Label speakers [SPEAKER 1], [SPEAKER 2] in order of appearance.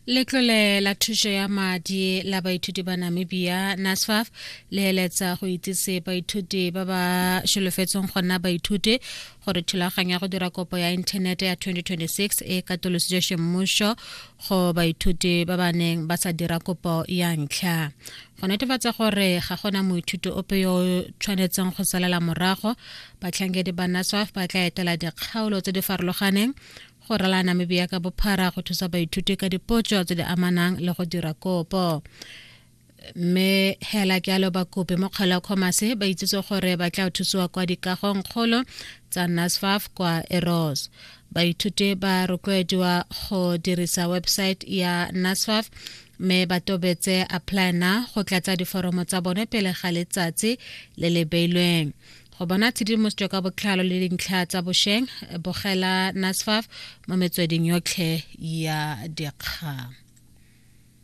[SPEAKER 1] Letlole la thuso ya madi la baithuti ba Namibia, NSFAF, le eletsa go itsise baithuti ba ba solofetseng go nna baithuti gore thulaganyo ya go dira kopo ya inthanete ya 2026 e katolositswe semmuso go baithuti ba ba neng ba sa dira kopo ya ntlha. Go netefatsa gore ga gona moithuti ope yo o tshwanetseng go salela morago, batlhankedi ba NSFAF ba tla etela dikgaolo tse di farologaneng go rala Namibia ka bophara go thusa baithuti ka dipotso tse di amanang le go dira kopo. Mme hela jalo bakopi mo kgaolo ya Commerce ba itsitse gore ba tla thusiwa kwa dikagong kgolo tsa NSFAF kwa Eros. Baithuti ba rotloediwa go dirisa website ya NSFAF mme ba tobetse apply now go tlatsa diforomo tsa bone pele ga letsatsi le le beilweng. Go bona tshedimosetso ka botlalo le dintlha tsa bosheng, bogela NSFAF mo metsweding yotlhe ya dikgang.